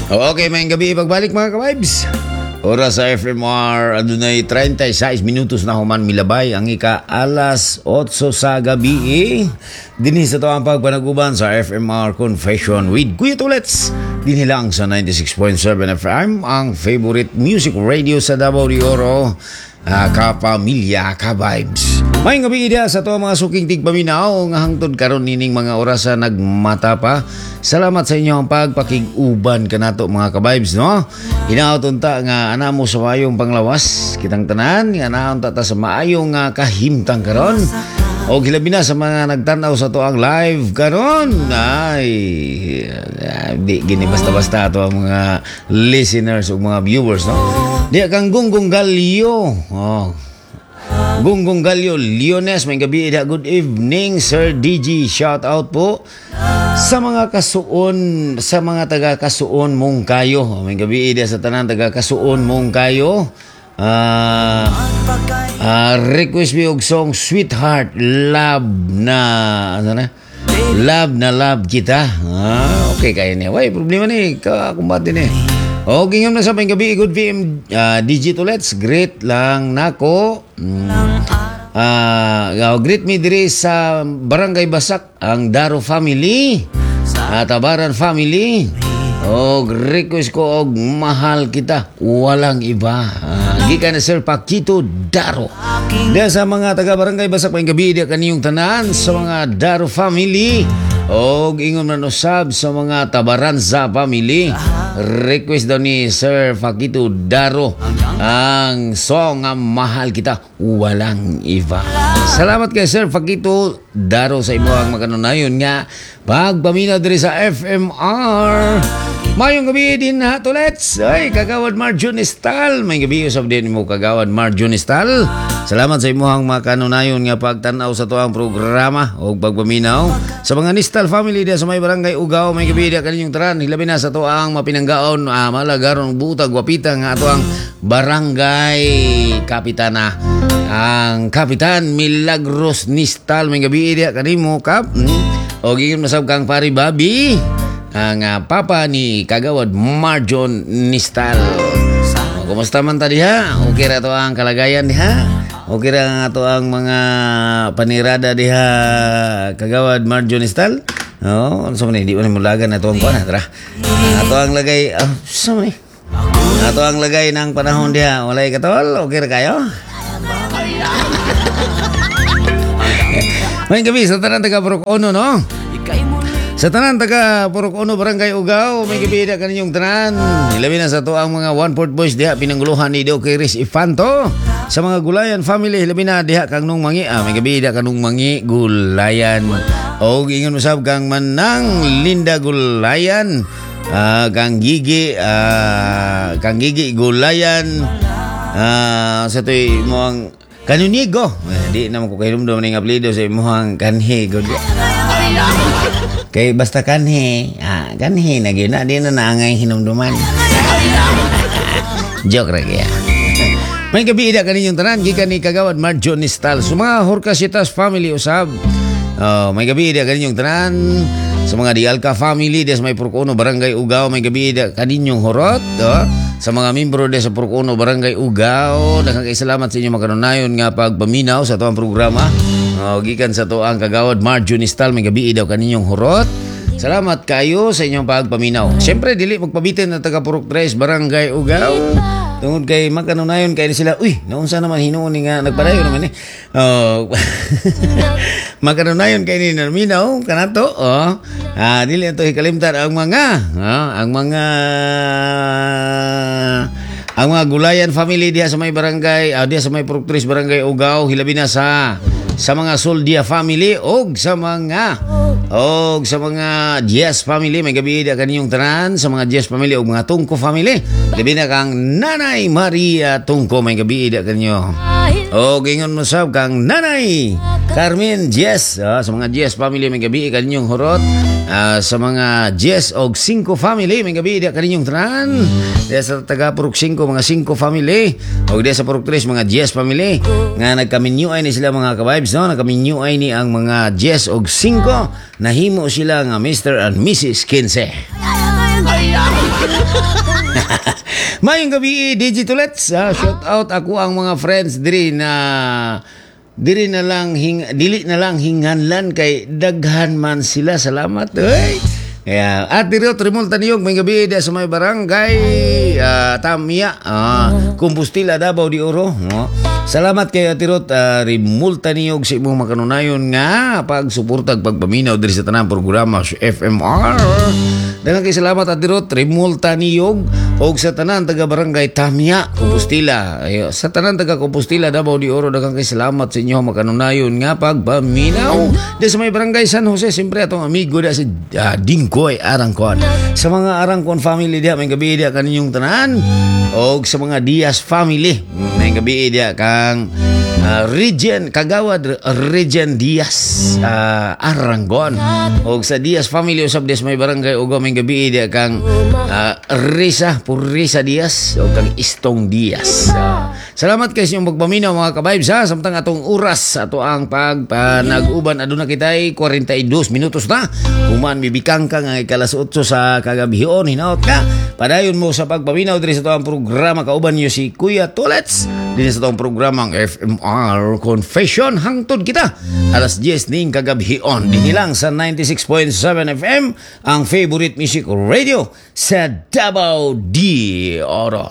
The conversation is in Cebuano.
Okay, maayong gabii pagbalik, mga ka-vibes. Oras sa FMR, adunay 36 minutos na human milabay ang ika alas 8 sa gabi. Eh. Dinhi sa atoang pagpanaguban sa FMR Confession with Kuya Tulets. Dinhi lang sa 96.7 FM, ang favorite music radio sa Davao de Oro. Kapamilya, ka-vibes. Maayong gabii diha sa atoang mga suking tigpaminaw nga hangtod karon nining mga orasa nagmata pa. Salamat sa inyong pagpakig-uban kanato, mga ka-vibes, no? Hinaot unta nga ana mo sa maayong panglawas kitang tanan, nga naa unta ta sa maayong kahimtang karon. O hilabi na sa mga nagtanaw sa atoang live karon. Ay, di gini basta-basta ato ang mga listeners o mga viewers, no? Di kang Gunggong Galyo. Oh. Gunggong Galyo, Leones, maayong gabii da. Good evening, Sir DG. Shout out po sa mga kasuon, sa mga taga Kasuon Monkayo. Maayong gabii da sa tanan taga Kasuon Monkayo. Request mi og song "Sweetheart", love na ano na? Love na love kita. Okay kayo niya. Way problema ni ka kumbate ni. Okay nga na sa maayong gabii, good PM DJ Tulets, great lang nako. Greet me diri sa Barangay Basak ang Daro family. Tabaran family. Og request ko og "Mahal Kita Walang Iba." Gikan ni Sir Paquito Daro. Diya sa mga taga Barangay Basak, maayong gabii diya kaniyong tanan sa mga Daro family. Og ingon man usab sa mga Tabaranza family. Request daw ni Sir Paquito Daro ang song nga "Mahal Kita Walang Iba." Salamat kay Sir Paquito Daro sa imong makanunayon nga pagpaminaw diri sa FMR. Maayong gabii din ha, Tulets. Ay, Kagawad Marjun Estal. Maayong gabii usab din mo, Kagawad Marjun Estal. Salamat sa imuhang makanunayon nga pagtanaw sa atoang programa o pagpaminaw. Sa mga Nistal family diya sa may Barangay Ugao, maayong gabii diya kaninyong tanan. Hilabi na sa atoang mapinanggaon, malagaron, butag, wapita nga atoang barangay kapitana. Ang Kapitan Milagros Nistal, maayong gabii diya kanimo, Kap. O ingon masab kang Pari Babi, ang papa ni Kagawad Marjon Nistal. O, kumusta man ta diha? Okay ra to ang kalagayan diha? Okay ra nga to ang mga panirada diha, Kagawad Marjon Nistal? Oh, ano sa man, hindi mo mulagan na to ang kuan, tara. Ato ang lagay, oh, sa man ni? Ato ang lagay ng panahon diha. Walay katol, okay ra kayo? Maayong gabii sa tanan taga Purok Uno, no? Sa tanan taga Purok Uno, Barangay Ugao, maayong gabii diha kaninyong tanan. Hilabi na sa atoang mga One Port Boys diha pinanguluhan ni Doc Chris Ifanto. Sa mga Gulayan family, hilabi na diha kang nung mangi, maayong gabii diha kanung mangi Gulayan. O ingon usab kang Manang Linda Gulayan, kang Gigi Gulayan, sa to'y mo ang Kanunigo. Eh, di naman ko kahinumdum ning apelyido sa imuhang kanhi gud. Kay basta kanhi, kanhi na gyud na, di na naangay hinumduman. Joke ra kaya. Maayong gabii da kaninyong tanan gikan ni Kagawad Marjon Nistal. Sa mga Horcasitas family usab. Oh, maayong gabii da kaninyong tanan. Sa mga Dialca family des may Purok Uno, Barangay Ugao, maayong gabii da kaninyong horot. Oh. Sa mga membro des sa Purok Uno, Barangay Ugao, daghang kay salamat sa inyong makanunayon nga pagpaminaw sa atoang programa. Oh, gikan sa atoang Kagawad Marjon Nistal, maayong gabii daw kaninyong horot. Salamat kayo sa inyong pagpaminaw. Siyempre, dili magpabitin na taga Purok 3, Barangay Ugao. Tungod kay makanunayon kay sila, uy, naunsa naman hinuon ni nga nagpadayon naman eh. Oh, makanunayon kay ni naminaw kanato, oh. Dili ato hikalimtan ang mga Gulayan family diha sa may barangay, diha sa may Purok 3, Barangay Ugao, hilabi na sa mga Soldia family og sa mga Diaz family, maayong gabii diha kaninyong tanan sa mga Diaz family og mga Tungko family. Labi na kang Nanay Maria Tungko, maayong gabii diha kaninyo. Og ingon mo sab kang Nanay Carmen Diaz, sa mga Diaz family, maayong gabii kaninyong horot. Sa mga Diaz og Cinco family, maayong gabii diha kaninyong tanan. Diha sa taga Purok 5, mga Cinco family. Og diha sa Purok 3, mga Diaz family. Nga nagkaminyuay ni sila, mga ka-vibes, no? Nagkaminyuay ni ang mga Diaz og Cinco. Nahimo sila nga Mr. and Mrs. Quince. Maayong gabii, Digitolets. Shout out ako ang mga friends diri na diri na lang hing, dili na lang hinganlan kay daghan man sila. Salamat. Hey. Kaya, at diri Trimul Taniyog, maayong gabii di sa may barangay Tamia, Compostela, Davao de Oro. No? Salamat kay Ate Ruth Rimulta Niyog sa imong makanunayon nga pagsuportag pagpaminaw diri sa tanang programa sa FMR. Daghang kay salamat, Ate Ruth Rimulta Niyog, og sa tanan taga barangay Tamia, Compostela. Ayo, sa tanan taga Compostela, Davao de Oro, daghang kay salamat sa inyo makanunayon nga pagpaminaw. Di sa may barangay San Jose, siyempre atong amigo da si Dingkoy Arangkon. Sa mga Arangkon family diha, maayong gabii diha kaninyong tanan. Og sa mga Diaz family, maayong gabii diha kang Regen Kagawad Regen Diaz Aranggon. Og sa Diaz family usab des may barangay Ugo, maayong gabii diha kang Risa Purisa Diaz og kang Istong Diaz. Salamat kay sa inyong pagpaminaw, mga ka-vibes, ha. Samtang atong oras ato ang pagpanag-uban, aduna kitay 42 minutos na human mibikang ka nga ikalas 8 sa kagabhion. Hinaot ka padayon mo sa pagpaminaw diri sa atong programa. Kauban niyo si Kuya Tolets dinhi sa atong programang FMR Confession hangtod kita alas 10 ning kagabhion, dinhi lang sa 96.7 FM, ang favorite music radio sa Davao de Oro.